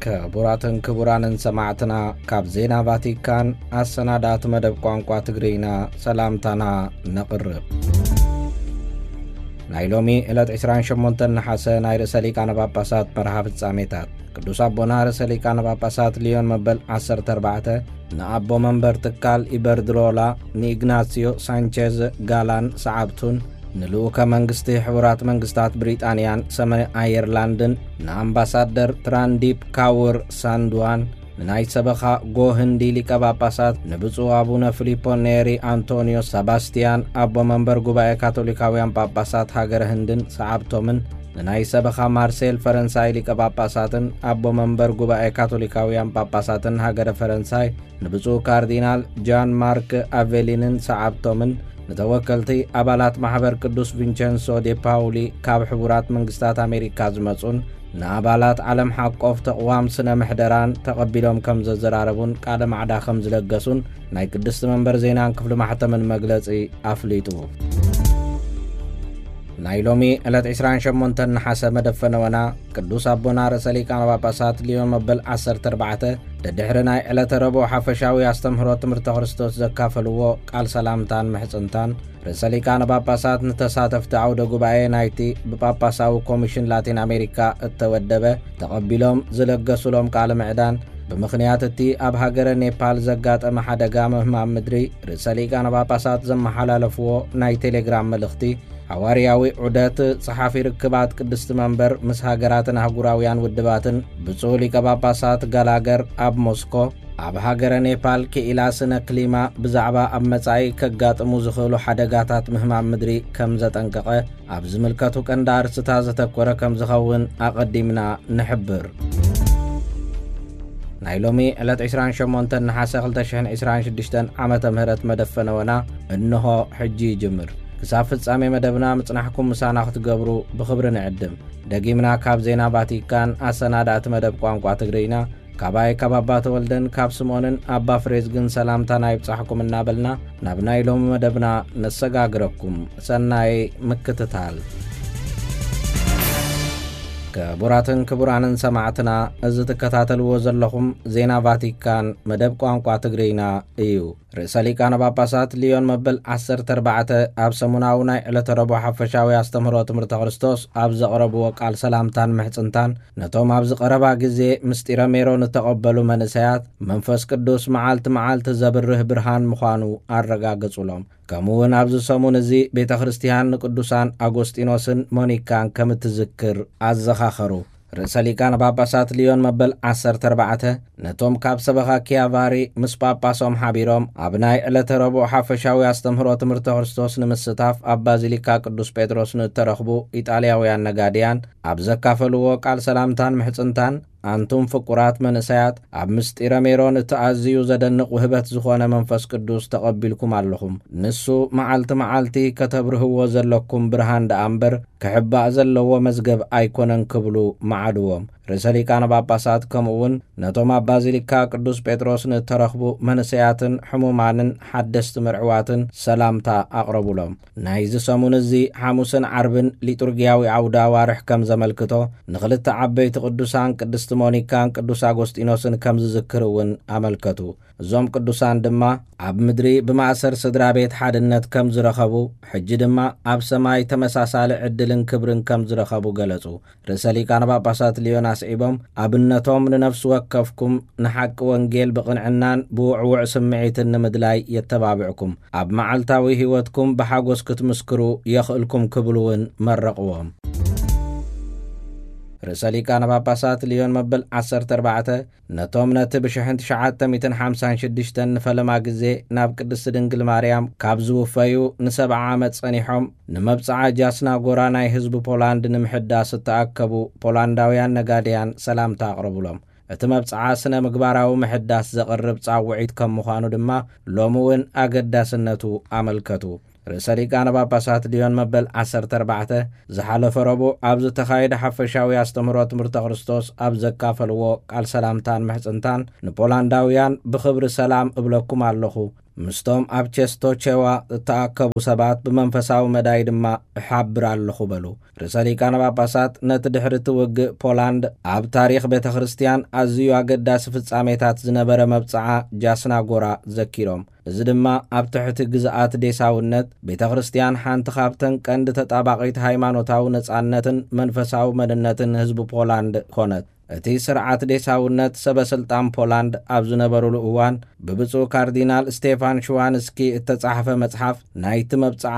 ክቡራትን ክቡራንን ሰማዕትና፣ ካብ ዜና ቫቲካን ኣሰናዳእቲ መደብ ቋንቋ ትግርኛ ሰላምታና ነቕርብ። ናይ ሎሚ ዕለት ዕስራን ሸሞንተን ነሓሰ ናይ ርእሰ ሊቃነ ጳጳሳት መርሃ ፍጻሜታት። ቅዱስ ኣቦና ርእሰ ሊቃነ ጳጳሳት ሊዮን መበል ዓሰርተ ኣርባዕተ ንኣቦ መንበር ትካል ኢበርድሮላ ንኢግናሲዮ ሳንቼዝ ጋላን ሰዓብቱን፣ ንልኡከ መንግስቲ ሕቡራት መንግስታት ብሪጣንያን ሰሜን ኣየርላንድን ንኣምባሳደር ትራንዲፕ ካውር ሳንድዋን፣ ንናይ ሰበኻ ጎ ህንዲ ሊቀ ጳጳሳት ንብፁዕ ኣቡነ ፊሊፖ ኔሪ ኣንቶኒዮ ሰባስቲያን ኣቦ መንበር ጉባኤ ካቶሊካውያን ጳጳሳት ሃገረ ህንድን ሰዓብቶምን፣ ንናይ ሰበኻ ማርሴል ፈረንሳይ ሊቀ ጳጳሳትን ኣቦ መንበር ጉባኤ ካቶሊካውያን ጳጳሳትን ሃገረ ፈረንሳይ ንብፁዕ ካርዲናል ጃን ማርክ ኣቬሊንን ሰዓብቶምን፣ ንተወከልቲ ኣባላት ማሕበር ቅዱስ ቪንቸንሶ ዴ ፓውሊ ካብ ሕቡራት መንግስታት ኣሜሪካ ዝመጹን ንኣባላት ዓለም ሓቆፍ ተቕዋም ስነ ምሕደራን ተቐቢሎም ከም ዘዘራረቡን ቃለ ማዕዳ ከም ዝለገሱን ናይ ቅድስቲ መንበር ዜናን ክፍሊ ማሕተምን መግለጺ ኣፍሊጡ። ናይ ሎሚ ዕለት ዕስራን ሸሞንተን ነሓሰ መደብ ፈነወና ቅዱስ ኣቦና ርእሰ ሊቃነ ጳጳሳት ሊዮን መበል ዓሰርተ ኣርባዕተ ደድሕሪ ናይ ዕለተ ረቡዕ ሓፈሻዊ ኣስተምህሮ ትምህርተ ክርስቶስ ዘካፈልዎ ቃል ሰላምታን ምሕጽንታን፣ ርእሰ ሊቃነ ጳጳሳት ንተሳተፍቲ ዓውደ ጉባኤ ናይቲ ብጳጳሳዊ ኮሚሽን ላቲን ኣሜሪካ እተወደበ ተቐቢሎም ዝለገሱሎም ቃለ ምዕዳን፣ ብምኽንያት እቲ ኣብ ሃገረ ኔፓል ዘጋጠመ ሓደጋ ምህማም ምድሪ ርእሰ ሊቃነ ጳጳሳት ዘመሓላለፍዎ ናይ ቴሌግራም መልእኽቲ፣ ሓዋርያዊ ዑደት ጸሓፊ ርክባት ቅድስቲ መንበር ምስ ሃገራትን ኣህጉራውያን ውድባትን ብፁዕ ሊቀ ጳጳሳት ጋላገር ኣብ ሞስኮ፣ ኣብ ሃገረ ኔፓል ክኢላ ስነ ክሊማ ብዛዕባ ኣብ መጻኢ ከጋጥሙ ዝኽእሉ ሓደጋታት ምህማም ምድሪ ከም ዘጠንቀቐ፣ ኣብ ዝምልከቱ ቀንዲ ኣርእስታት ዘተኮረ ከም ዝኸውን ኣቐዲምና ንሕብር። ናይ ሎሚ ዕለት ዕስራን ሸሞንተን ነሓሰ ክልተ ሽሕን ዕስራን ሽዱሽተን ዓመተ ምህረት መደብ ፈነወና እንሆ ሕጂ ይጅምር። ክሳብ ፍጻሜ መደብና ምጽናሕኩም ምሳና ክትገብሩ ብኽብሪ ንዕድም። ደጊምና ካብ ዜና ቫቲካን ኣሰናዳእቲ መደብ ቋንቋ ትግርኛ፣ ካባይ ካብ ኣባ ተወልደን ካብ ስምኦንን ኣባ ፍሬዝግን ሰላምታና ይብጻሕኩም እናበልና፣ ናብ ናይ ሎሚ መደብና ነሰጋግረኩም። ሰናይ ምክትታል። ክቡራትን ክቡራንን ሰማዕትና፣ እዚ ትከታተልዎ ዘለኹም ዜና ቫቲካን መደብ ቋንቋ ትግርኛ እዩ። ርእሰ ሊቃነ ጳጳሳት ሊዮን መበል ዓሰርተ ኣርባዕተ ኣብ ሰሙናዊ ናይ ዕለተ ረቡዕ ሓፈሻዊ ኣስተምህሮ ትምህርተ ክርስቶስ ኣብ ዘቕረብዎ ቃል ሰላምታን ምሕጽንታን፣ ነቶም ኣብዚ ቀረባ ግዜ ምስጢረ ሜሮን እተቐበሉ መንእሰያት፣ መንፈስ ቅዱስ መዓልቲ መዓልቲ ዘብርህ ብርሃን ምዃኑ ኣረጋገጹሎም። ከምኡ እውን ኣብዚ ሰሙን እዚ ቤተ ክርስቲያን ንቅዱሳን ኣጎስጢኖስን ሞኒካን ከም እትዝክር ኣዘኻኸሩ። ርእሰ ሊቃነ ጳጳሳት ሊዮን መበል ዓሰርተ ኣርባዕተ ነቶም ካብ ሰበኻ ኪያቫሪ ምስ ጳጳሶም ሓቢሮም ኣብ ናይ ዕለተ ረቡዕ ሓፈሻዊ ኣስተምህሮ ትምህርተ ክርስቶስ ንምስታፍ ኣብ ባዚሊካ ቅዱስ ጴጥሮስ ንእተረኽቡ ኢጣልያውያን ነጋድያን ኣብ ዘካፈልዎ ቃል ሰላምታን ምሕጽንታን፣ ኣንቱም ፍቁራት መንእሰያት፣ ኣብ ምስጢረ ሜሮን እቲ ኣዝዩ ዘደንቕ ውህበት ዝኾነ መንፈስ ቅዱስ ተቐቢልኩም ኣለኹም። ንሱ መዓልቲ መዓልቲ ከተብርህዎ ዘለኩም ብርሃን ደኣ እምበር፣ ክሕባእ ዘለዎ መዝገብ ኣይኮነን ክብሉ መዓድዎም። ርእሰ ሊቃነ ጳጳሳት ከምኡ እውን ነቶም ኣብ ባዚሊካ ቅዱስ ጴጥሮስ ንእተረኽቡ መንእሰያትን ሕሙማንን ሓደስቲ መርዕዋትን ሰላምታ ኣቕረቡሎም። ናይዚ ሰሙን እዚ ሓሙስን ዓርብን ሊጡርጊያዊ ዓውደ ኣዋርሕ ከም ዘመልክቶ፣ ንኽልተ ዓበይቲ ቅዱሳን ቅድስቲ ሞኒካን ቅዱስ ኣጎስጢኖስን ከም ዝዝክር እውን ኣመልከቱ። እዞም ቅዱሳን ድማ ኣብ ምድሪ ብማእሰር ስድራ ቤት ሓድነት ከም ዝረኸቡ፣ ሕጂ ድማ ኣብ ሰማይ ተመሳሳሊ ዕድልን ክብርን ከም ዝረኸቡ ገለጹ። ርእሰ ሊቃነ ጳጳሳት ሊዮን ኣስዒቦም፣ ኣብነቶም ንነፍሲ ወከፍኩም ንሓቂ ወንጌል ብቕንዕናን ብውዕውዕ ስምዒትን ንምድላይ የተባብዕኩም፣ ኣብ መዓልታዊ ህይወትኩም ብሓጎስ ክትምስክሩ የኽእልኩም ክብሉ እውን መረቕዎም። ርእሰ ሊቃነ ጳጳሳት ሊዮን መበል ዓሰርተ ኣርባዕተ ነቶም ነቲ ብሽሕን ትሽዓተ ሚእትን ሓምሳን ሽዱሽተን ንፈለማ ግዜ ናብ ቅድስቲ ድንግል ማርያም ካብ ዝውፈዩ ንሰብዓ ዓመት ጸኒሖም ንመብጽዓ ጃስናጎራ ናይ ህዝቢ ፖላንድ ንምሕዳስ እተኣከቡ ፖላንዳውያን ነጋድያን ሰላምታ ኣቕረቡሎም። እቲ መብጽዓ ስነ ምግባራዊ ምሕዳስ ዘቕርብ ጻውዒት ከም ምዃኑ ድማ ሎሚ እውን ኣገዳስነቱ ኣመልከቱ። ርእሰ ሊቃነ ጳጳሳት ሊዮን መበል ዓሰርተ ኣርባዕተ ዝሓለፈ ረቡዕ ኣብ ዝተኻየደ ሓፈሻዊ ኣስተምህሮ ትምህርተ ክርስቶስ ኣብ ዘካፈልዎ ቃል ሰላምታን ምሕጽንታን፣ ንፖላንዳውያን ብኽብሪ ሰላም እብለኩም ኣለኹ፣ ምስቶም ኣብ ቸስቶቼዋ እተኣከቡ ሰባት ብመንፈሳዊ መዳይ ድማ እሓብር ኣለኹ በሉ። ርእሰ ሊቃነ ጳጳሳት ነቲ ድሕሪ እቲ ውግእ ፖላንድ ኣብ ታሪኽ ቤተ ክርስቲያን ኣዝዩ ኣገዳሲ ፍጻሜታት ዝነበረ መብጽዓ ጃስናጎራ ዘኪሮም፣ እዚ ድማ ኣብ ትሕቲ ግዝኣት ዴሳውነት ቤተ ክርስቲያን ሓንቲ ካብተን ቀንዲ ተጣባቒት ሃይማኖታዊ ነጻነትን መንፈሳዊ መንነትን ህዝቢ ፖላንድ ኮነት። እቲ ስርዓት ዴሳውነት ሰበ ስልጣን ፖላንድ ኣብ ዝነበሩሉ እዋን ብብፁዕ ካርዲናል ስቴፋን ሽዋንስኪ እተጻሕፈ መጽሓፍ ናይቲ መብጽዓ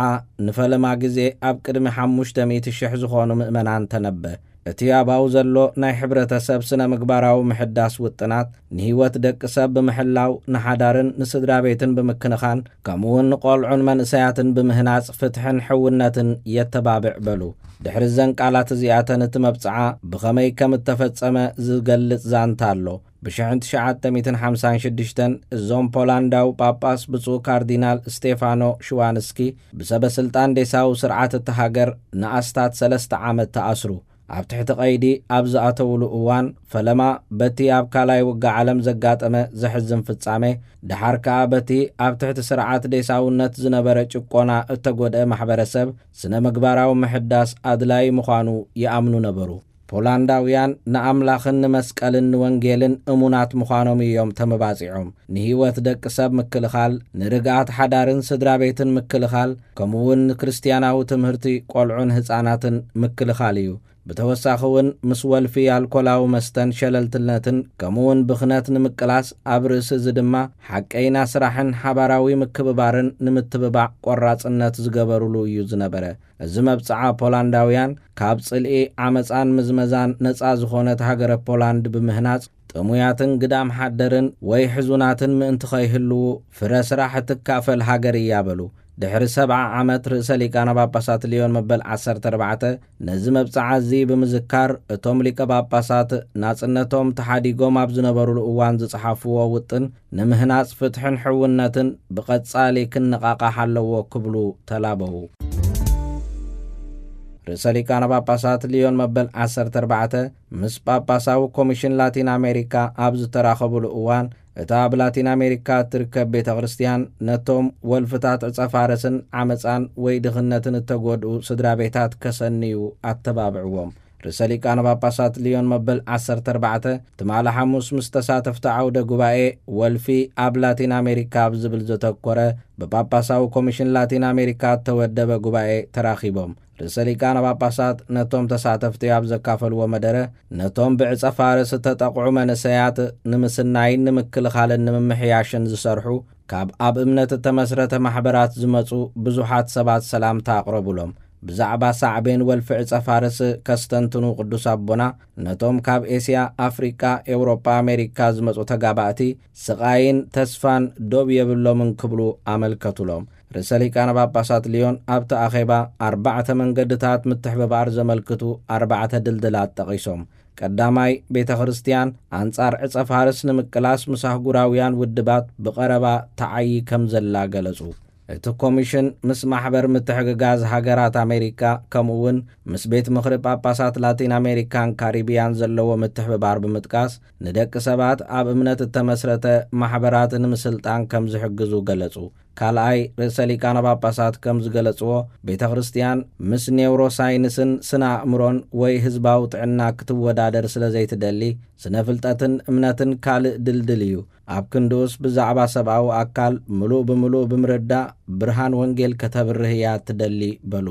ንፈለማ ግዜ ኣብ ቅድሚ ሓሙሽተ ሚእቲ ሽሕ ዝኾኑ ምእመናን ተነበ። እቲ ኣባኡ ዘሎ ናይ ሕብረተሰብ ስነ ምግባራዊ ምሕዳስ ውጥናት ንህይወት ደቂ ሰብ ብምሕላው ንሓዳርን ንስድራ ቤትን ብምክንኻን ከምኡውን ንቆልዑን መንእሰያትን ብምህናጽ ፍትሕን ሕውነትን የተባብዕ በሉ። ድሕሪ እዘን ቃላት እዚኣተን እቲ መብጽዓ ብኸመይ ከም እተፈጸመ ዝገልጽ ዛንታ ኣሎ። ብ ትሽዓተ ሚእትን ሓምሳን ሽዱሽተን እዞም ፖላንዳዊ ጳጳስ ብፁዕ ካርዲናል ስቴፋኖ ሽዋንስኪ ብሰበ ስልጣን ዴሳዊ ስርዓት እታ ሃገር ንኣስታት ሰለስተ ዓመት ተኣስሩ። ኣብ ትሕቲ ቀይዲ ኣብ ዝኣተውሉ እዋን ፈለማ በቲ ኣብ ካልኣይ ውግእ ዓለም ዘጋጠመ ዘሕዝን ፍጻሜ፣ ደሓር ከኣ በቲ ኣብ ትሕቲ ስርዓት ዴሳውነት ዝነበረ ጭቆና እተጎድአ ማሕበረሰብ ስነ ምግባራዊ ምሕዳስ ኣድላዪ ምዃኑ ይኣምኑ ነበሩ። ፖላንዳውያን ንኣምላኽን ንመስቀልን ንወንጌልን እሙናት ምዃኖም እዮም ተመባጺዖም። ንህይወት ደቂ ሰብ ምክልኻል፣ ንርግኣት ሓዳርን ስድራ ቤትን ምክልኻል፣ ከምኡውን ንክርስትያናዊ ትምህርቲ ቆልዑን ህጻናትን ምክልኻል እዩ። ብተወሳኺ እውን ምስ ወልፊ ኣልኮላዊ መስተን ሸለልትነትን ከምኡውን ብኽነት ንምቅላስ ኣብ ርእሲ እዚ ድማ ሓቀይና ስራሕን ሓባራዊ ምክብባርን ንምትብባዕ ቆራጽነት ዝገበሩሉ እዩ ዝነበረ። እዚ መብጽዓ ፖላንዳውያን ካብ ጽልኢ ዓመጻን ምዝመዛን ነጻ ዝኾነት ሃገረ ፖላንድ ብምህናጽ ጥሙያትን ግዳም ሓደርን ወይ ሕዙናትን ምእንቲ ከይህልዉ ፍረ ስራሕ እትካፈል ሃገር እያ በሉ። ድሕሪ ሰብዓ ዓመት ርእሰ ሊቃነ ጳጳሳት ልዮን መበል ዓሰርተ ኣርባዕተ ነዚ መብጽዓ እዚ ብምዝካር እቶም ሊቀ ጳጳሳት ናጽነቶም ተሓዲጎም ኣብ ዝነበሩሉ እዋን ዝጸሓፍዎ ውጥን ንምህናጽ ፍትሕን ሕውነትን ብቐጻሊ ክነቓቓሕ ኣለዎ ክብሉ ተላበዉ። ርእሰ ሊቃነ ጳጳሳት ልዮን መበል ዓሰርተ ኣርባዕተ ምስ ጳጳሳዊ ኮሚሽን ላቲን ኣሜሪካ ኣብ ዝተራኸቡሉ እዋን እታ ኣብ ላቲን ኣሜሪካ እትርከብ ቤተ ክርስቲያን ነቶም ወልፍታት ዕጸ ፋርስን ዓመጻን ወይ ድኽነትን እተጎድኡ ስድራ ቤታት ከሰንዩ ኣተባብዕዎም። ርእሰ ሊቃነ ጳጳሳት ልዮን መበል ዓሰርተ ኣርባዕተ ትማሊ ሓሙስ ምስ ተሳተፍቲ ዓውደ ጉባኤ ወልፊ ኣብ ላቲን ኣሜሪካ ኣብ ዝብል ዘተኮረ ብጳጳሳዊ ኮሚሽን ላቲን ኣሜሪካ እተወደበ ጉባኤ ተራኺቦም። ርእሰ ሊቃነ ጳጳሳት ነቶም ተሳተፍቲ ኣብ ዘካፈልዎ መደረ ነቶም ብዕጸ ፋርስ እተጠቕዑ መንእሰያት ንምስናይን ንምክልኻልን ንምምሕያሽን ዝሰርሑ ካብ ኣብ እምነት እተመስረተ ማሕበራት ዝመጹ ብዙሓት ሰባት ሰላምታ ኣቕረቡሎም። ብዛዕባ ሳዕቤን ወልፊ ዕጸ ፋርስ ከስተንትኑ ቅዱስ ኣቦና ነቶም ካብ ኤስያ፣ ኣፍሪቃ፣ ኤውሮጳ፣ ኣሜሪካ ዝመጹ ተጋባእቲ ስቓይን ተስፋን ዶብ የብሎምን ክብሉ ኣመልከቱሎም። ርእሰ ሊቃነ ጳጳሳት ልዮን ኣብቲ ኣኼባ ኣርባዕተ መንገድታት ምትሕብባር ዘመልክቱ ኣርባዕተ ድልድላት ጠቒሶም። ቀዳማይ፣ ቤተ ክርስቲያን ኣንጻር ዕጸ ፋርስ ንምቅላስ ምስ ኣህጉራውያን ውድባት ብቐረባ ተዓዪ ከም ዘላ ገለጹ። እቲ ኮሚሽን ምስ ማሕበር ምትሕግጋዝ ሃገራት ኣሜሪካ ከምኡ እውን ምስ ቤት ምኽሪ ጳጳሳት ላቲን ኣሜሪካን ካሪቢያን ዘለዎ ምትሕብባር ብምጥቃስ ንደቂ ሰባት ኣብ እምነት እተመስረተ ማሕበራት ንምስልጣን ከም ዝሕግዙ ገለጹ። ካልኣይ፣ ርእሰ ሊቃነ ጳጳሳት ከም ዝገለጽዎ ቤተ ክርስቲያን ምስ ኔውሮሳይንስን ስነ ኣእምሮን ወይ ህዝባዊ ጥዕና ክትወዳደር ስለ ዘይትደሊ ስነ ፍልጠትን እምነትን ካልእ ድልድል እዩ። ኣብ ክንድኡስ ብዛዕባ ሰብኣዊ ኣካል ምሉእ ብምሉእ ብምርዳእ ብርሃን ወንጌል ከተብርህ እያ ትደሊ በሉ።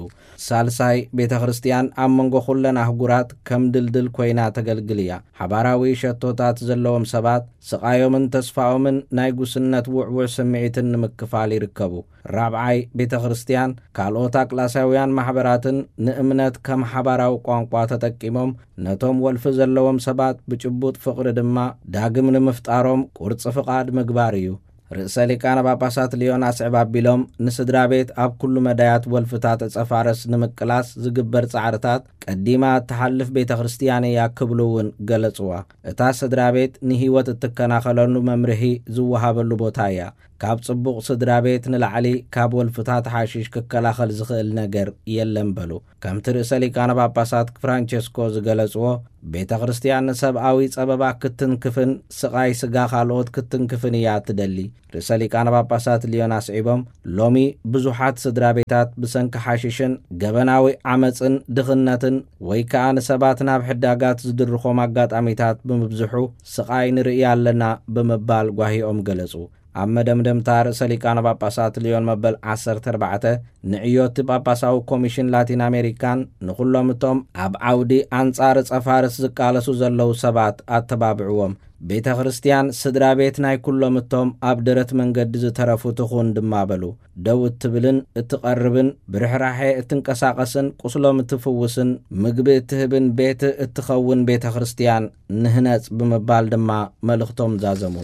ሳልሳይ፣ ቤተ ክርስቲያን ኣብ መንጎ ኩለን ኣህጉራት ከም ድልድል ኮይና ተገልግል እያ። ሓባራዊ ሸቶታት ዘለዎም ሰባት ስቓዮምን ተስፋኦምን ናይ ጉስነት ውዕውዕ ስምዒትን ንምክፋል ይርከቡ። ራብዓይ፣ ቤተ ክርስቲያን ካልኦት ኣቅላሳውያን ማሕበራትን ንእምነት ከም ሓባራዊ ቋንቋ ተጠቂሞም ነቶም ወልፊ ዘለዎም ሰባት ብጭቡጥ ፍቕሪ ድማ ዳግም ንምፍጣሮም ቁርጺ ፍቓድ ምግባር እዩ። ርእሰ ሊቃነ ጳጳሳት ልዮን ኣስዕብ ኣቢሎም ንስድራ ቤት ኣብ ኩሉ መዳያት ወልፍታት ዕጸ ፋርስ ንምቅላስ ዝግበር ጻዕርታት ቀዲማ እትሓልፍ ቤተ ክርስቲያን እያ ክብሉ እውን ገለጽዋ። እታ ስድራ ቤት ንህይወት እትከናኸለሉ መምርሂ ዝወሃበሉ ቦታ እያ። ካብ ጽቡቕ ስድራ ቤት ንላዕሊ ካብ ወልፍታት ሓሽሽ ክከላኸል ዝኽእል ነገር የለን በሉ። ከምቲ ርእሰ ሊቃነ ጳጳሳት ፍራንቸስኮ ዝገለጽዎ፣ ቤተ ክርስትያን ንሰብኣዊ ጸበባ ክትንክፍን ስቓይ ስጋ ካልኦት ክትንክፍን እያ ትደሊ። ርእሰ ሊቃነ ጳጳሳት ሊዮን ኣስዒቦም፣ ሎሚ ብዙሓት ስድራ ቤታት ብሰንኪ ሓሽሽን ገበናዊ ዓመጽን ድኽነትን ወይ ከኣ ንሰባት ናብ ሕዳጋት ዝድርኾም ኣጋጣሚታት ብምብዝሑ ስቓይ ንርኢ ኣለና ብምባል ጓሂኦም ገለጹ። ኣብ መደምደምታ ርእሰ ሊቃነ ጳጳሳት ሊዮን መበል ዓሰርተ ኣርባዕተ ንዕዮቲ ጳጳሳዊ ኮሚሽን ላቲን ኣሜሪካን ንኹሎም እቶም ኣብ ዓውዲ ኣንጻር ጸፋርስ ዝቃለሱ ዘለዉ ሰባት ኣተባብዕዎም። ቤተ ክርስትያን ስድራ ቤት ናይ ኩሎም እቶም ኣብ ደረት መንገዲ ዝተረፉ ትኹን ድማ በሉ። ደው እትብልን እትቐርብን ብርሕራሐ እትንቀሳቐስን ቁስሎም እትፍውስን ምግቢ እትህብን ቤት እትኸውን ቤተ ክርስትያን ንህነጽ ብምባል ድማ መልእኽቶም ዛዘሙ።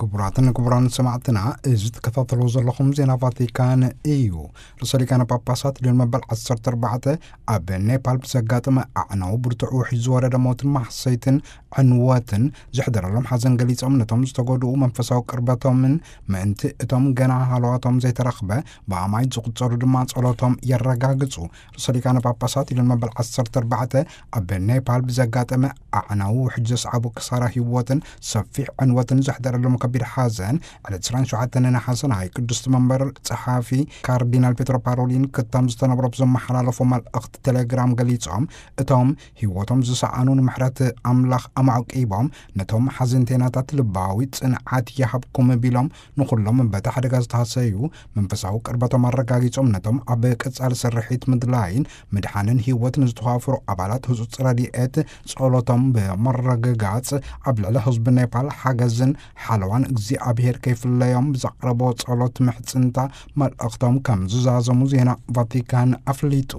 ክቡራትን ክቡራን ሰማዕትና፣ እዚ ትከታተልዎ ዘለኹም ዜና ቫቲካን እዩ። ርእሰ ሊቃነ ጳጳሳት ሊዮን መበል ዓሰርተ ኣርባዕተ ኣብ ኔፓል ብዘጋጠመ ኣዕናዊ ብርቱዕ ውሕጅ ዝወረደ ሞትን ማሕሰይትን ዕንወትን ዘሕደረሎም ሓዘን ገሊጾም፣ ነቶም ዝተጎድኡ መንፈሳዊ ቅርበቶምን ምእንቲ እቶም ገና ሃለዋቶም ዘይተረኽበ ብኣማይት ዝቑጸሩ ድማ ጸሎቶም የረጋግጹ። ርእሰ ሊቃነ ጳጳሳት ሊዮን መበል ዓሰርተ ኣርባዕተ ኣብ ኔፓል ብዘጋጠመ ኣዕናዊ ውሕጅ ዘስዓቡ ክሳራ ህይወትን ሰፊሕ ዕንወትን ዘሕደረሎም ከቢድ ሓዘን፣ ዕለት ዕስራን ሸውዓተን ነሓሰ ናይ ቅድስቲ መንበር ጸሓፊ ካርዲናል ፔትሮ ፓሮሊን ክታም ዝተነብሮ ብዘመሓላለፎ መልእኽቲ ቴሌግራም ገሊጾም፣ እቶም ህይወቶም ዝሰኣኑ ንምሕረት ኣምላኽ ኣማዕቂቦም፣ ነቶም ሓዘንተይናታት ልባዊ ጽንዓት ይሃብኩም ቢሎም፣ ንኹሎም በቲ ሓደጋ ዝተሃሰዩ መንፈሳዊ ቅርበቶም ኣረጋጊጾም፣ ነቶም ኣብ ቀጻሊ ስርሒት ምድላይን ምድሓንን ህይወት ንዝተዋፈሩ ኣባላት ህጹጽ ረድኤት ጸሎቶም ብምርግጋጽ፣ ኣብ ልዕሊ ህዝቢ ኔፓል ሓገዝን ሓለዋን እግዚኣብሔር ከይፍለዮም ብዘቕረቦ ጸሎት ምሕጽንታ መልእኽቶም ከም ዝዛዘሙ ዜና ቫቲካን ኣፍሊጡ።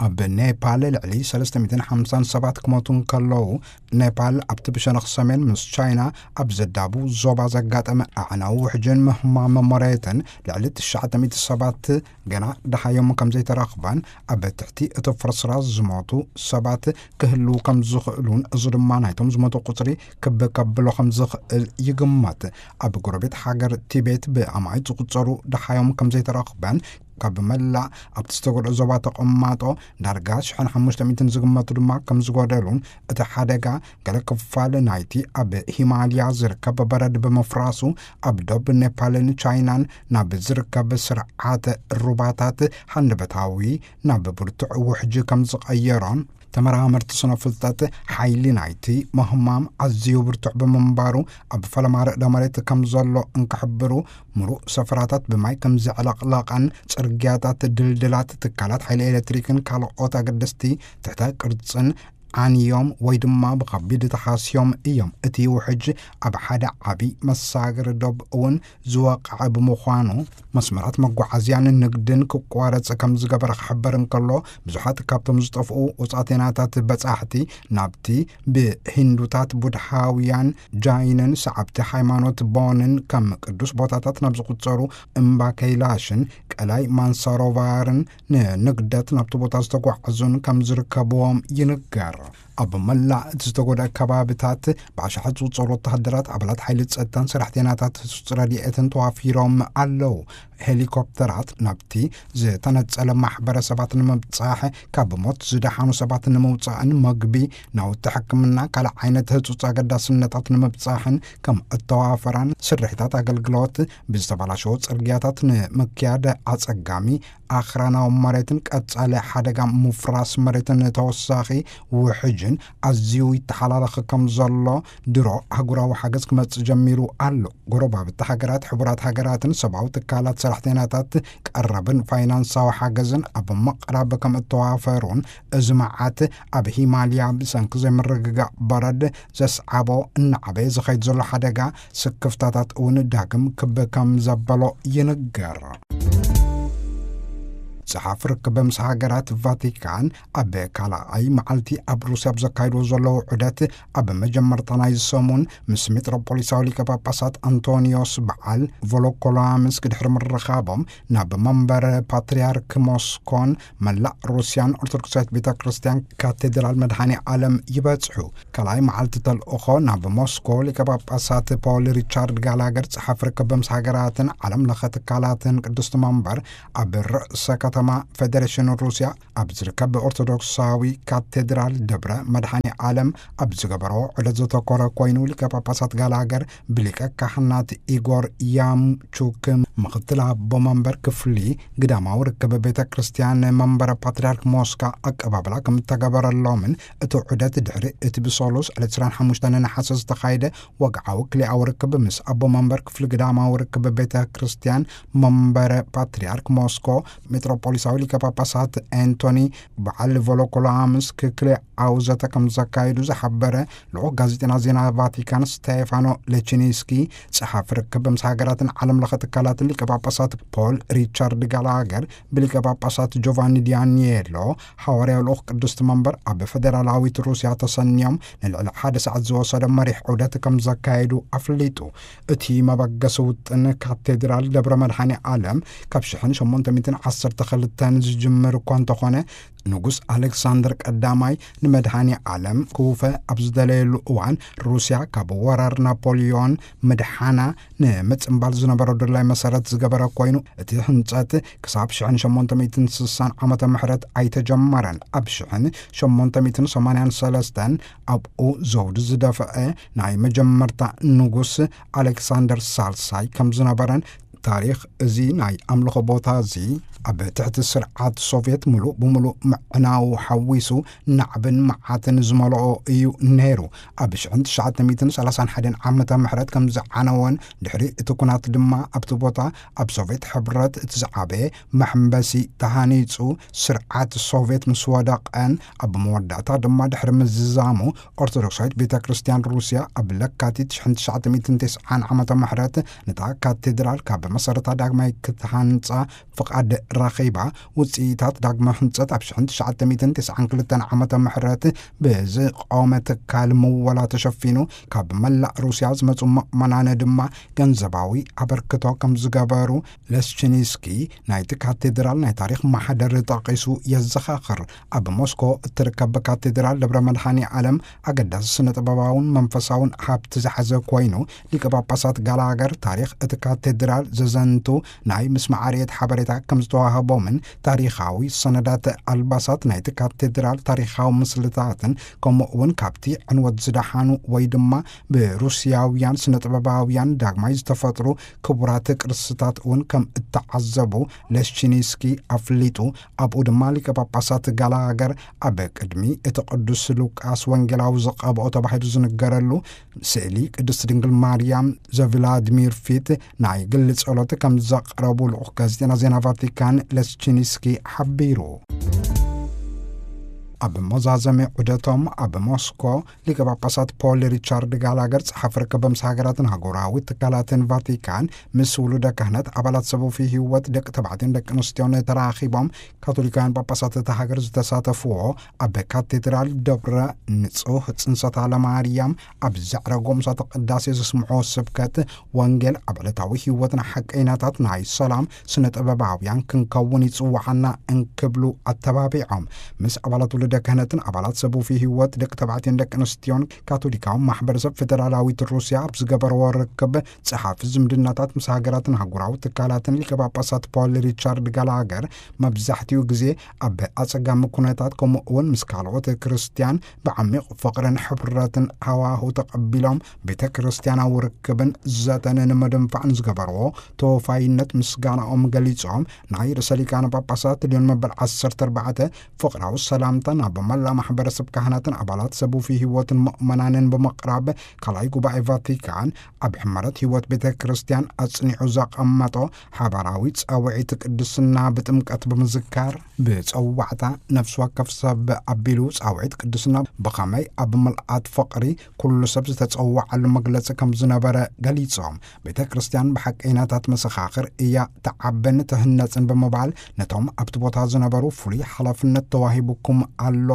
ኣብ ኔፓል ልዕሊ ሰለስተ ሚእትን ሓምሳን ሰባት ክሞቱ እንከለዉ፣ ኔፓል ኣብቲ ብሸነኽ ሰሜን ምስ ቻይና ኣብ ዘዳቡ ዞባ ዘጋጠመ ኣዕናዊ ውሕጅን ምህማም መሬትን ልዕሊ ትሽዓተ ሚእቲ ሰባት ገና ደሃዮም ከም ዘይተረኽበን ኣብ ትሕቲ እቲ ፍርስራስ ዝሞቱ ሰባት ክህልዉ ከም ዝኽእሉን፣ እዚ ድማ ናይቶም ዝሞቱ ቁጽሪ ክብ ከብሎ ከም ዝኽእል ይግመት። ኣብ ጎረቤት ሃገር ቲቤት ብኣማኢት ዝቑጸሩ ደሃዮም ከም ዘይተረኽበን፣ ካብ መላእ ኣብቲ ዝተጎድኦ ዞባ ተቐማጦ ዳርጋ ሽሕን ሓሙሽተ ሚእትን ዝግመቱ ድማ ከም ዝጎደሉን፣ እቲ ሓደጋ ገለ ክፋል ናይቲ ኣብ ሂማልያ ዝርከብ በረድ ብምፍራሱ፣ ኣብ ዶብ ኔፓልን ቻይናን ናብ ዝርከብ ስርዓተ ሩባታት ሃንደበታዊ ናብ ብርቱዕ ውሕጅ ከም ዝቐየሮን፣ ተመራመርቲ ስነ ፍልጠት ሓይሊ ናይቲ ምህማም ኣዝዩ ብርቱዕ ብምንባሩ፣ ኣብ ፈለማ ርእደ መሬት ከም ዘሎ እንክሕብሩ፣ ምሉእ ሰፈራታት ብማይ ከም ዘዕለቕለቐን፣ ጽርግያታት ድልድላት፣ ትካላት ሓይሊ ኤሌክትሪክን ካልኦት ኣገደስቲ ትሕተ ቅርጽን ዓንዮም ወይ ድማ ብኸቢድ ተሃስዮም እዮም። እቲ ውሕጅ ኣብ ሓደ ዓቢ መሳገሪ ዶብ እውን ዝወቕዐ ብምዃኑ፣ መስመራት መጓዓዝያን ንግድን ክቋረጽ ከም ዝገበረ ክሕበር እንከሎ፣ ብዙሓት ካብቶም ዝጠፍኡ ውጻቴናታት በጻሕቲ ናብቲ ብሂንዱታት፣ ቡድሃውያን፣ ጃይንን ሰዓብቲ ሃይማኖት ቦንን ከም ቅዱስ ቦታታት ናብ ዝቑጸሩ እምባ ከይላሽን ቀላይ ማንሳሮቫርን ንንግደት ናብቲ ቦታ ዝተጓዕዙን ከም ዝርከብዎም ይንገር። ኣብ መላእ እቲ ዝተጎድኣ ከባቢታት ብኣሽሓት ዝቑጸሩ ወተሃደራት፣ ኣባላት ሓይሊ ጸጥታን ሰራሕተኛታት ህጹጽ ረድኤትን ተዋፊሮም ኣለዉ። ሄሊኮፕተራት ናብቲ ዝተነጸለ ማሕበረሰባት ንምብጻሕ፣ ካብ ሞት ዝደሓኑ ሰባት ንምውጻእን፣ መግቢ፣ ናውቲ ሕክምና፣ ካልእ ዓይነት ህጹጽ ኣገዳስነታት ንምብጻሕን ከም እተዋፈራን፣ ስርሒታት ኣገልግሎት ብዝተበላሸወ ጽርግያታት ንምክያድ ኣጸጋሚ ኣኽራናዊ መሬትን ቀጻሊ ሓደጋ ምፍራስ መሬትን ተወሳኺ ውሕጅን ኣዝዩ ይተሓላለኽ ከም ዘሎ ድሮ ኣህጉራዊ ሓገዝ ክመጽእ ጀሚሩ ኣሎ። ጎረባብቲ ሃገራት፣ ሕቡራት ሃገራትን ሰብኣዊ ትካላት ሰራሕተኛታት ቀረብን ፋይናንሳዊ ሓገዝን ኣብ ምቕራብ ከም እተዋፈሩን፣ እዚ መዓት ኣብ ሂማልያ ብሰንኪ ዘይምርግጋእ በረድ ዘስዓቦ እናዓበየ ዝኸይድ ዘሎ ሓደጋ ስክፍታታት እውን ዳግም ክብ ከም ዘበሎ ይንገር። ጸሓፊ ርክብ ምስ ሃገራት ቫቲካን ኣብ ካልኣይ መዓልቲ ኣብ ሩስያ ኣብ ዘካይድዎ ዘለዉ ዑደት፣ ኣብ መጀመርታ ናይ ሰሙን ምስ ሜትሮፖሊሳዊ ሊቀ ጳጳሳት ኣንቶኒዮስ በዓል ቮሎኮላምስክ ድሕሪ ምርኻቦም፣ ናብ መንበር ፓትርያርክ ሞስኮን መላእ ሩስያን ኦርቶዶክሳዊት ቤተ ክርስቲያን ካቴድራል መድኃኔ ዓለም ይበጽሑ። ካልኣይ መዓልቲ ተልእኾ ናብ ሞስኮ ሊቀ ጳጳሳት ፖል ሪቻርድ ጋላገር፣ ጸሓፊ ርክብ ምስ ሃገራትን ዓለም ለኸ ትካላትን ቅድስቲ መንበር፣ ኣብ ርእሰ ከተማ ፌደሬሽን ሩስያ ኣብ ዝርከብ ኦርቶዶክሳዊ ካቴድራል ደብረ መድኃኔ ዓለም ኣብ ዝገበሮ ዑደት ዘተኮረ ኮይኑ፣ ሊቀ ጳጳሳት ጋላገር ብሊቀ ካህናት ኢጎር ያምቹክ፣ ምኽትል ኣቦ መንበር ክፍሊ ግዳማዊ ርክብ ቤተ ክርስቲያን መንበረ ፓትርያርክ ሞስካ፣ ኣቀባብላ ከም እተገበረሎምን እቲ ዑደት ድሕሪ እቲ ብሰሉስ ዕለት ዕስራን ሓሙሽተን ነሓሰ ዝተኻየደ ወግዓዊ ክልኣዊ ርክብ ምስ ኣቦ መንበር ክፍሊ ግዳማዊ ርክብ ቤተ ክርስቲያን መንበረ ፓትርያርክ ሞስኮ ሜትሮፖሊሳዊ ሊቀ ጳጳሳት ኤንቶኒ በዓል ቮሎኮላምስክ ክልኣዊ ዘተ ከም ዘካየዱ ዝሓበረ ልኡኽ ጋዜጠና ዜና ቫቲካን ስቴፋኖ ሌቺኒስኪ፣ ጸሓፊ ርክብ ምስ ሃገራትን ዓለም ለኸ ትካላትን ሊቀ ጳጳሳት ፖል ሪቻርድ ጋላገር ብሊቀ ጳጳሳት ጆቫኒ ዲያኒየሎ፣ ሓዋርያዊ ልኡኽ ቅድስቲ መንበር ኣብ ፌደራላዊት ሩስያ ተሰንዮም ንልዕሊ ሓደ ሰዓት ዝወሰደ መሪሕ ዑደት ከም ዘካየዱ ኣፍሊጡ። እቲ መበገሲ ውጥን ካቴድራል ደብረ መድኃኔ ዓለም ካብ ሽሕን ሸሞንተ ሚእትን ዓሰርተ ክልተን ዝጅምር እኳ እንተኾነ፣ ንጉስ ኣሌክሳንደር ቀዳማይ ንመድኃኔ ዓለም ክውፈ ኣብ ዝደለየሉ እዋን፣ ሩስያ ካብ ወራር ናፖሊዮን ምድሓና ንምጽንባል ዝነበሮ ድላይ መሰረት ዝገበረ ኮይኑ፣ እቲ ህንጸት ክሳብ ሽሕን ሸሞንተ ሚእትን ስሳን ዓመተ ምሕረት ኣይተጀመረን። ኣብ ሽሕን ሸሞንተ ሚእትን ሰማንያን ሰለስተን ኣብኡ ዘውዲ ዝደፍአ ናይ መጀመርታ ንጉስ ኣሌክሳንደር ሳልሳይ ከም ዝነበረን፣ ታሪኽ እዚ ናይ ኣምልኾ ቦታ እዚ ኣብ ትሕቲ ስርዓት ሶቭየት ምሉእ ብምሉእ ምዕናዉ ሓዊሱ ናዕብን መዓትን ዝመልኦ እዩ ነይሩ። ኣብ ሽሕን ትሽዓተ ሚእትን ሰላሳን ሓደን ዓመተ ምሕረት ከም ዝዓነወን፣ ድሕሪ እቲ ኩናት ድማ ኣብቲ ቦታ ኣብ ሶቭየት ሕብረት እቲ ዝዓበየ መሐንበሲ ተሃኒጹ፣ ስርዓት ሶቭየት ምስ ወደቐን ኣብ መወዳእታ ድማ ድሕሪ ምዝዛሙ፣ ኦርቶዶክሳዊት ቤተ ክርስቲያን ሩስያ ኣብ ለካቲት ሽሕን ትሽዓተ ሚእትን ተስዓን ዓመተ ምሕረት ነታ ካቴድራል ካብ መሰረታ ዳግማይ ክትሃንጻ ፍቓድ ረኺባ። ውጽኢታት ዳግመ ህንጸት ኣብ ሽሕን ትሽዓተ ሚእትን ተስዓን ክልተን ዓመተ ምሕረት ብዝቖመ ትካል ምወላ ተሸፊኑ፣ ካብ መላእ ሩስያ ዝመጹ ምእመናን ድማ ገንዘባዊ ኣበርክቶ ከም ዝገበሩ ለስቺኒስኪ ናይቲ ካቴድራል ናይ ታሪኽ ማሕደር ጠቒሱ የዘኻኽር። ኣብ ሞስኮ እትርከብ ካቴድራል ደብረ መድኃኔ ዓለም ኣገዳሲ ስነ ጥበባውን መንፈሳውን ሃብቲ ዝሓዘ ኮይኑ፣ ሊቀ ጳጳሳት ጋላገር ታሪኽ እቲ ካቴድራል ዘዘንቱ ናይ ምስማዕ ርየት ሓበሬታ ከም ዝተዋህቦምን፣ ታሪኻዊ ሰነዳት ኣልባሳት ናይቲ ካቴድራል ታሪኻዊ ምስልታትን፣ ከምኡ እውን ካብቲ ዕንወት ዝደሓኑ ወይ ድማ ብሩስያውያን ስነ ጥበባውያን ዳግማይ ዝተፈጥሩ ክቡራት ቅርስታት እውን ከም እተዓዘቡ ለስቺኒስኪ ኣፍሊጡ። ኣብኡ ድማ ሊቀ ጳጳሳት ጋላገር ኣብ ቅድሚ እቲ ቅዱስ ሉቃስ ወንጌላዊ ዝቐብኦ ተባሂሉ ዝንገረሉ ስእሊ ቅድስቲ ድንግል ማርያም ዘቭላድሚር ፊት ናይ ግሊ ጸሎት ከም ዘቕረቡ ልኡኽ ጋዜጠና ዜና ቫቲካን ለስቺኒስኪ ሓቢሩ። ኣብ መዛዘሚ ዑደቶም ኣብ ሞስኮ፣ ሊቀ ጳጳሳት ፖል ሪቻርድ ጋላገር፣ ጸሓፊ ርክብ ምስ ሃገራትን ኣህጉራዊ ትካላትን ቫቲካን፣ ምስ ውሉደ ክህነት፣ ኣባላት ሰብ ውፉይ ህይወት፣ ደቂ ተባዕትዮን ደቂ ኣንስትዮን ተራኺቦም፣ ካቶሊካውያን ጳጳሳት እታ ሃገር ዝተሳተፍዎ ኣብ ካቴድራል ደብረ ንጹህ ጽንሰታ ለማርያም ኣብ ዘዕረጎ ምሳተ ቅዳሴ ዘስምዖ ስብከት ወንጌል፣ ኣብ ዕለታዊ ህይወትና ሓቀይናታት ናይ ሰላም ስነ ጥበባውያን ክንከውን ይጽውዓና እንክብሉ ኣተባቢዖም። ምስ ኣባላት ውሉደ ክህነትን ኣባላት ሰብ ውፉይ ህይወት፣ ደቂ ተባዕትዮን ደቂ ኣንስትዮን፣ ካቶሊካዊ ማሕበረሰብ ፌደራላዊት ሩስያ ኣብ ዝገበርዎ ርክብ፣ ጸሓፊ ዝምድናታት ምስ ሃገራትን ኣህጉራዊ ትካላትን ሊቀ ጳጳሳት ፖል ሪቻርድ ጋላገር፣ መብዛሕትኡ ግዜ ኣብ ኣጸጋሚ ኩነታት፣ ከምኡ እውን ምስ ካልኦት ክርስትያን ብዓሚቕ ፍቕርን ሕብረትን ሃዋሁ ተቐቢሎም፣ ቤተ ክርስቲያናዊ ርክብን ዘተን ንምድንፋዕ ንዝገበርዎ ተወፋይነት ምስጋናኦም ገሊጾም፣ ናይ ርእሰ ሊቃነ ጳጳሳት ልዮን መበል ዓሰርተ ኣርባዕተ ፍቕራዊ ሰላምታ ናብ መላ ማሕበረሰብ ካህናትን ኣባላት ሰቡፊ ህይወትን ምእመናንን ብምቕራብ፣ ካልኣይ ጉባኤ ቫቲካን ኣብ ሕመረት ህይወት ቤተ ክርስቲያን ኣጽኒዑ ዘቐመጦ ሓባራዊ ጻውዒት ቅድስና ብጥምቀት ብምዝካር፣ ብጸዋዕታ ነፍሲ ወከፍ ሰብ ኣቢሉ ጻውዒት ቅድስና ብኸመይ ኣብ ምልኣት ፍቕሪ ኩሉ ሰብ ዝተጸዋዓሉ መግለጺ ከም ዝነበረ ገሊጾም፣ ቤተ ክርስቲያን ብሓቀይናታት መሰኻኽር እያ ትዓብን ትህነጽን ብምባል፣ ነቶም ኣብቲ ቦታ ዝነበሩ ፍሉይ ሓላፍነት ተዋሂቡኩም ኣሎ፣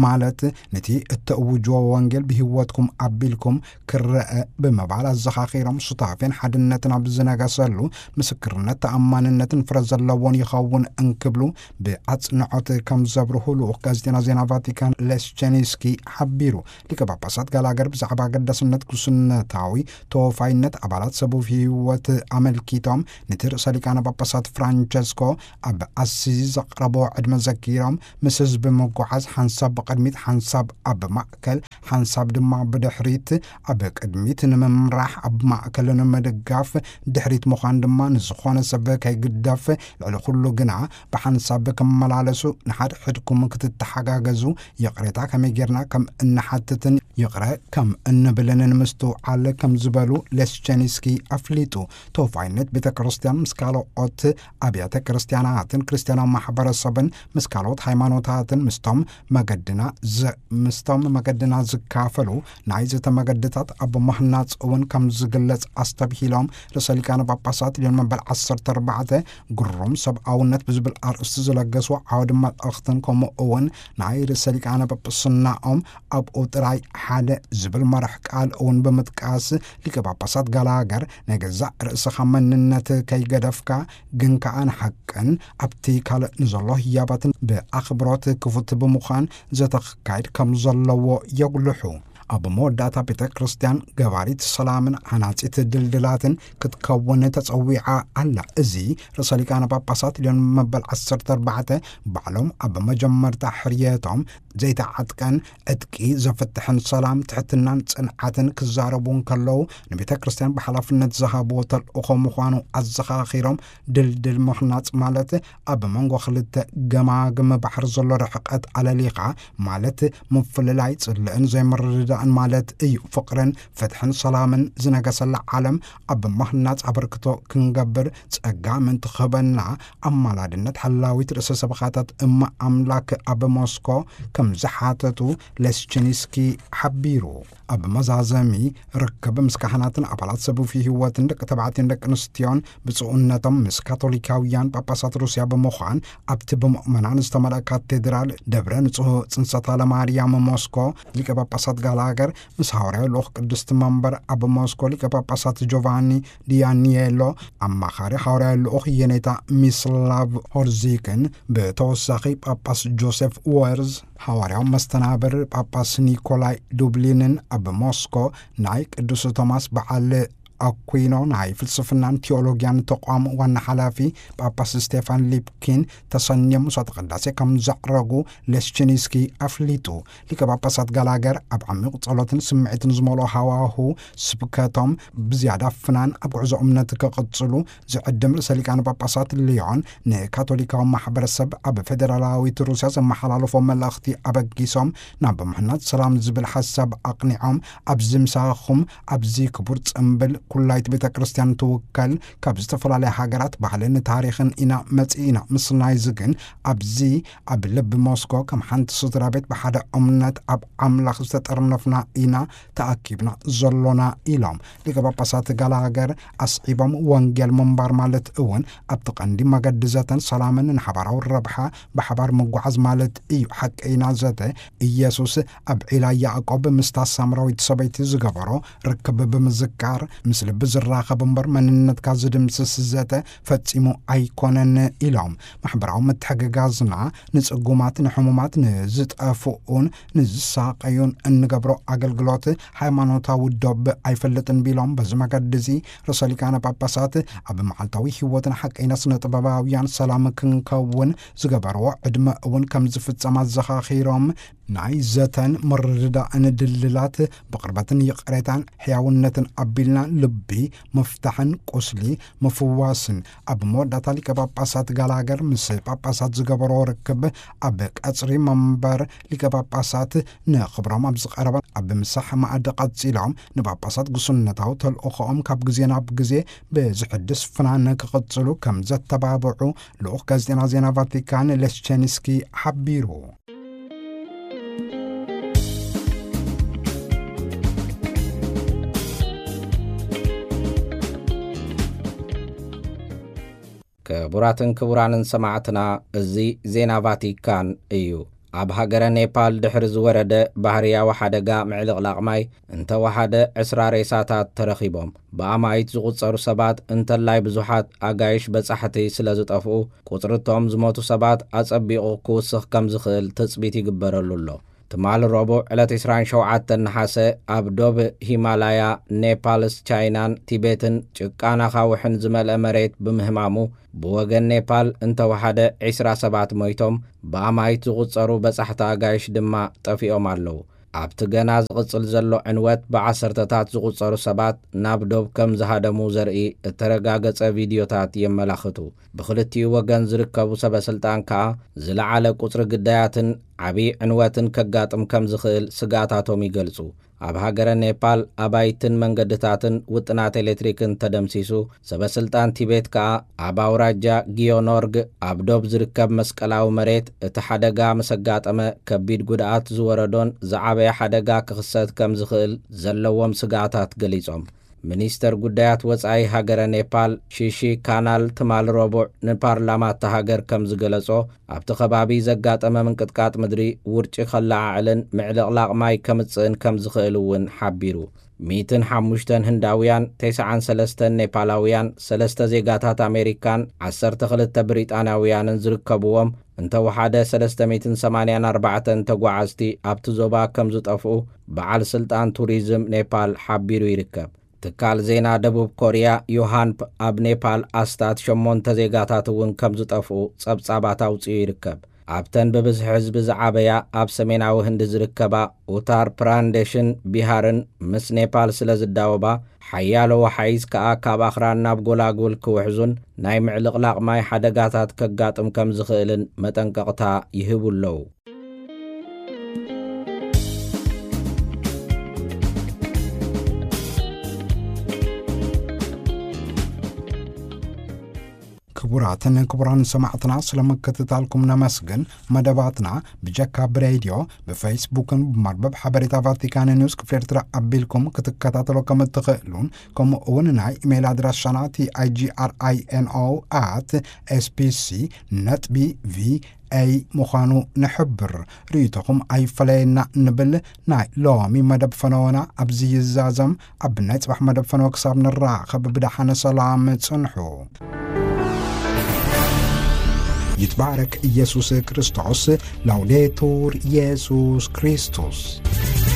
ማለት ነቲ እተእውጅዎ ወንጌል ብህይወትኩም ኣቢልኩም ክረአ ብምባል ኣዘኻኺሮም፣ ሱታፌን ሓድነትን ኣብ ዝነገሰሉ ምስክርነት ተኣማንነትን ፍረ ዘለዎን ይኸውን እንክብሉ ብኣጽንዖት ከም ዘብርሁ ልኡኽ ጋዜጠና ዜና ቫቲካን ሌስቸኒስኪ ሓቢሩ። ሊቀ ጳጳሳት ጋላገር ብዛዕባ ኣገዳስነት ጉስነታዊ ተወፋይነት ኣባላት ሰቡፍ ህይወት ኣመልኪቶም፣ ነቲ ርእሰ ሊቃነ ጳጳሳት ፍራንቸስኮ ኣብ ኣሲዚ ዘቕረቦ ዕድመ ዘኪሮም፣ ምስ ህዝቢ ምጉዓዝ ሓንሳብ ብቕድሚት፣ ሓንሳብ ኣብ ማእከል፣ ሓንሳብ ድማ ብድሕሪት፣ ኣብ ቅድሚት ንምምራሕ፣ ኣብ ማእከል ንምድጋፍ፣ ድሕሪት ምዃን ድማ ንዝኾነ ሰብ ከይግደፍ፣ ልዕሊ ኩሉ ግና ብሓንሳብ ክመላለሱ፣ ንሓድሕድኩም ክትተሓጋገዙ፣ ይቕሬታ ከመይ ጌርና ከም እንሓትትን ይቕረ ከም እንብልን ንምስትውዓል ከም ዝበሉ ሌስቸኒስኪ ኣፍሊጡ። ተወፋይነት ቤተ ክርስቲያን ምስ ካልኦት ኣብያተ ክርስቲያናትን ክርስቲያናዊ ማሕበረሰብን፣ ምስ ካልኦት ሃይማኖታትን፣ ምስቶም መገድና ዝ-፣ ምስቶም መገድና ዝካፈሉ ናይ ዘተ መገድታት ኣብ ምህናጽ እውን ከም ዝግለጽ ኣስተብሂሎም፣ ርእሰ ሊቃነ ጳጳሳት ልዮን መበል ዓሰርተ ኣርባዕተ ግሩም ሰብኣውነት ብዝብል ኣርእስቲ ዝለገስዎ ዓውዲ መልእኽትን፣ ከምኡ እውን ናይ ርእሰ ሊቃነ ጳጳስናኦም ኣብኡ ጥራይ ሓደ ዝብል መርሕ ቃል እውን ብምጥቃስ፣ ሊቀ ጳጳሳት ጋላገር ናይ ገዛእ ርእስኻ መንነት ከይገደፍካ፣ ግን ከኣ ንሓቅን ኣብቲ ካልእ ንዘሎ ህያባትን ብኣኽብሮት ክፉት ብምዃን ዘተ ክካየድ ከም ዘለዎ የጉልሑ። ኣብ መወዳእታ ቤተ ክርስቲያን ገባሪት ሰላምን ሓናጺት ድልድላትን ክትከውን ተጸዊዓ ኣላ። እዚ ርእሰ ሊቃነ ጳጳሳት ልዮን መበል ዓሰርተ ኣርባዕተ ባዕሎም ኣብ መጀመርታ ሕርየቶም ዘይተዓጥቀን ዕጥቂ ዘፍትሕን ሰላም፣ ትሕትናን ጽንዓትን ክዛረቡ እንከለዉ፣ ንቤተ ክርስቲያን ብሓላፍነት ዝሃብዎ ተልእኾ ምዃኑ ኣዘኻኺሮም፣ ድልድል ምህናጽ ማለት ኣብ መንጎ ክልተ ገማግም ባሕሪ ዘሎ ርሕቀት ኣለሊኻ፣ ማለት ምፍልላይ፣ ጽልእን ዘይምርድዳእን ማለት እዩ። ፍቕርን ፍትሕን ሰላምን ዝነገሰላ ዓለም ኣብ ምህናጽ ኣበርክቶ ክንገብር ጸጋ ምእንቲ ክህበና፣ ኣማላድነት ሓላዊት ርእሰ ሰበኻታት እመ ኣምላክ ኣብ ሞስኮ ከም ዝሓተቱ ሌስችኒስኪ ሓቢሩ። ኣብ መዛዘሚ ርክብ ምስ ካህናትን ኣባላት ሰቡፊ ህይወትን ደቂ ተባዕትዮን ደቂ ኣንስትዮን ብጽኡነቶም ምስ ካቶሊካውያን ጳጳሳት ሩስያ ብምዃን ኣብቲ ብምእመናን ዝተመልአ ካቴድራል ደብረ ንጹህ ጽንሰታ ለማርያም ሞስኮ ሊቀ ጳጳሳት ጋላገር ምስ ሃዋርያዊ ልኡኽ ቅድስቲ መንበር ኣብ ሞስኮ ሊቀ ጳጳሳት ጆቫኒ ዲያኒየሎ፣ ኣማኻሪ ሃዋርያዊ ልኡኽ የኔታ ሚስላቭ ሆርዚክን፣ ብተወሳኺ ጳጳስ ጆሴፍ ወርዝ፣ ሃዋርያዊ መስተናብር ጳጳስ ኒኮላይ ዱብሊንን ኣብ ሞስኮ ናይ ቅዱስ ቶማስ በዓል ኣኩይኖ ናይ ፍልስፍናን ቴዎሎጊያን ተቋም ዋና ሓላፊ ጳጳስ ስቴፋን ሊፕኪን ተሰንዮም መስዋዕተ ቅዳሴ ከም ዘዕረጉ ሌስችኒስኪ ኣፍሊጡ። ሊቀ ጳጳሳት ጋላገር ኣብ ዓሚቕ ጸሎትን ስምዒትን ዝመልኦ ሃዋሁ ስብከቶም ብዝያዳ ፍናን ኣብ ጉዕዞ እምነት ክቕጽሉ ዝዕድም ርእሰ ሊቃነ ጳጳሳት ልዮን ንካቶሊካዊ ማሕበረሰብ ኣብ ፌደራላዊት ሩስያ ዘመሓላለፎ መልእኽቲ ኣበጊሶም፣ ናብ ምሕናጽ ሰላም ዝብል ሓሳብ ኣቕኒዖም፣ ኣብዚ ምሳኹም፣ ኣብዚ ክቡር ጽምብል ኩላይት ቤተ ክርስቲያን ትውከል፣ ካብ ዝተፈላለያ ሃገራት ባህልን ታሪኽን ኢና መጺእና። ምስናይዚ ግን ኣብዚ ኣብ ልቢ ሞስኮ ከም ሓንቲ ስድራ ቤት ብሓደ እምነት ኣብ ኣምላኽ ዝተጠርነፍና ኢና ተኣኪብና ዘሎና ኢሎም። ሊቀ ጳጳሳት ጋላገር ኣስዒቦም፣ ወንጌል ምንባር ማለት እውን ኣብቲ ቀንዲ መገዲ ዘተን ሰላምን ንሓባራዊ ረብሓ ብሓባር ምጓዓዝ ማለት እዩ። ሓቀይና ዘተ ኢየሱስ ኣብ ዒላ ያዕቆብ ምስታ ሳምራዊት ሰበይቲ ዝገበሮ ርክብ ብምዝካር፣ ምስ ልቢ ዝራኸብ እምበር መንነትካ ዝድምስስ ዘተ ፈጺሙ ኣይኮነን ኢሎም። ማሕበራዊ ምትሕግጋዝና ንጽጉማት፣ ንሕሙማት፣ ንዝጠፍኡን ንዝሳቐዩን እንገብሮ ኣገልግሎት ሃይማኖታዊ ዶብ ኣይፈልጥን ቢሎም፣ በዚ መገዲ እዚ ርእሰ ሊቃነ ጳጳሳት ኣብ መዓልታዊ ህይወትን ሓቀይና ስነ ጥበባውያን ሰላም ክንከውን ዝገበርዎ ዕድመ እውን ከም ዝፍጸም ኣዘኻኺሮም፣ ናይ ዘተን ምርድዳእን ድልድላት ብቕርበትን ይቕሬታን ሕያውነትን ኣቢልና ቢ ምፍታሕን ቁስሊ ምፍዋስን። ኣብ መወዳእታ ሊቀ ጳጳሳት ጋላገር ምስ ጳጳሳት ዝገበሮ ርክብ ኣብ ቀጽሪ መንበር ሊቀ ጳጳሳት ንኽብሮም ኣብ ዝቐረበ ኣብ ምሳሕ ማዕዲ ቀጺሎም ንጳጳሳት ጉስነታዊ ተልእኾኦም ካብ ግዜ ናብ ግዜ ብዝሕድስ ፍናን ክቕጽሉ ከም ዘተባብዑ ልኡኽ ጋዜጠና ዜና ቫቲካን ሌስቸንስኪ ሓቢሩ። ክቡራትን ክቡራንን ሰማዕትና፣ እዚ ዜና ቫቲካን እዩ። ኣብ ሃገረ ኔፓል ድሕሪ ዝወረደ ባህርያዊ ሓደጋ ምዕልቕላቕ ማይ እንተወሓደ ዕስራ ሬሳታት ተረኺቦም። ብኣማኢት ዝቑጸሩ ሰባት እንተላይ ብዙሓት ኣጋይሽ በጻሕቲ ስለ ዝጠፍኡ፣ ቁጽርቶም ዝሞቱ ሰባት ኣጸቢቑ ክውስኽ ከም ዝኽእል ትጽቢት ይግበረሉ ኣሎ። ትማሊ ረቡዕ ዕለት ዕስራን ሸውዓተን ነሓሰ ኣብ ዶብ ሂማላያ ኔፓልስ ቻይናን ቲቤትን ጭቃን ኣኻውሕን ዝመልአ መሬት ብምህማሙ ብወገን ኔፓል እንተወሓደ ዕስራ ሰባት ሞይቶም፣ ብኣማኢት ዝቑጸሩ በጻሕቲ ኣጋይሽ ድማ ጠፊኦም ኣለዉ። ኣብቲ ገና ዝቕጽል ዘሎ ዕንወት ብዓሰርተታት ዝቑጸሩ ሰባት ናብ ዶብ ከም ዝሃደሙ ዘርኢ እተረጋገጸ ቪድዮታት የመላኽቱ። ብኽልቲኡ ወገን ዝርከቡ ሰበ ስልጣን ከኣ ዝለዓለ ቁጽሪ ግዳያትን ዓቢ ዕንወትን ከጋጥም ከም ዝኽእል ስግኣታቶም ይገልጹ። ኣብ ሃገረ ኔፓል ኣባይትን መንገድታትን ውጥናት ኤሌክትሪክን ተደምሲሱ፣ ሰበ ስልጣን ቲቤት ከኣ ኣብ ኣውራጃ ጊዮኖርግ ኣብ ዶብ ዝርከብ መስቀላዊ መሬት እቲ ሓደጋ ምስ ኣጋጠመ ከቢድ ጉድኣት ዝወረዶን ዝዓበየ ሓደጋ ክኽሰት ከም ዝኽእል ዘለዎም ስግኣታት ገሊጾም። ሚኒስተር ጉዳያት ወጻኢ ሃገረ ኔፓል ሺሺ ካናል ትማል ረቡዕ ንፓርላማ እታ ሃገር ከም ዝገለጾ፣ ኣብቲ ከባቢ ዘጋጠመ ምንቅጥቃጥ ምድሪ ውርጪ ከለዓዕልን ምዕልቕላቕ ማይ ከምጽእን ከም ዝኽእል እውን ሓቢሩ። ሚእትን ሓሙሽተን ህንዳውያን፣ ተስዓን ሰለስተን ኔፓላውያን፣ ሰለስተ ዜጋታት ኣሜሪካን ዓሰርተ ክልተ ብሪጣንያውያንን ዝርከብዎም እንተወሓደ ሰለስተ ሚእትን ሰማንያን ኣርባዕተን ተጓዓዝቲ ኣብቲ ዞባ ከም ዝጠፍኡ በዓል ስልጣን ቱሪዝም ኔፓል ሓቢሩ ይርከብ። ትካል ዜና ደቡብ ኮርያ ዮሃንፕ ኣብ ኔፓል ኣስታት ሸሞንተ ዜጋታት እውን ከም ዝጠፍኡ ጸብጻባት ኣውጺኡ ይርከብ። ኣብተን ብብዝሒ ህዝቢ ዝዓበያ ኣብ ሰሜናዊ ህንዲ ዝርከባ ኡታር ፕራንዴሽን ቢሃርን ምስ ኔፓል ስለ ዝዳወባ፣ ሓያሎ ወሓይዝ ከኣ ካብ ኣኽራን ናብ ጎላጉል ክውሕዙን ናይ ምዕልቕላቕ ማይ ሓደጋታት ከጋጥም ከም ዝኽእልን መጠንቀቕታ ይህቡ ኣለዉ። ክቡራትን ክቡራን ሰማዕትና፣ ስለ ምክትታልኩም ነመስግን። መደባትና ብጀካ ብሬድዮ፣ ብፌስቡክን ብመርበብ ሓበሬታ ቫቲካን ኒውስ ክፍሊ ኤርትራ ኣቢልኩም ክትከታተሎ ከም እትኽእሉን፣ ከምኡ እውን ናይ ኢሜይል ኣድራሻና ቲ ኣይ ጂ ኣር ኣይ ኤን ኦ ኣት ኤስ ቢ ሲ ነጥቢ ቪ ኤይ ምዃኑ ንሕብር። ርእይቶኹም ኣይፈለየና ንብል። ናይ ሎሚ መደብ ፈነወና ኣብዚ ይዛዘም። ኣብ ናይ ጽባሕ መደብ ፈነወ ክሳብ ንራኸብ ብደሓነ ሰላም ጽንሑ። ይትባረክ ኢየሱስ ክርስቶስ። ላውዴቱር ኢየሱስ ክርስቶስ።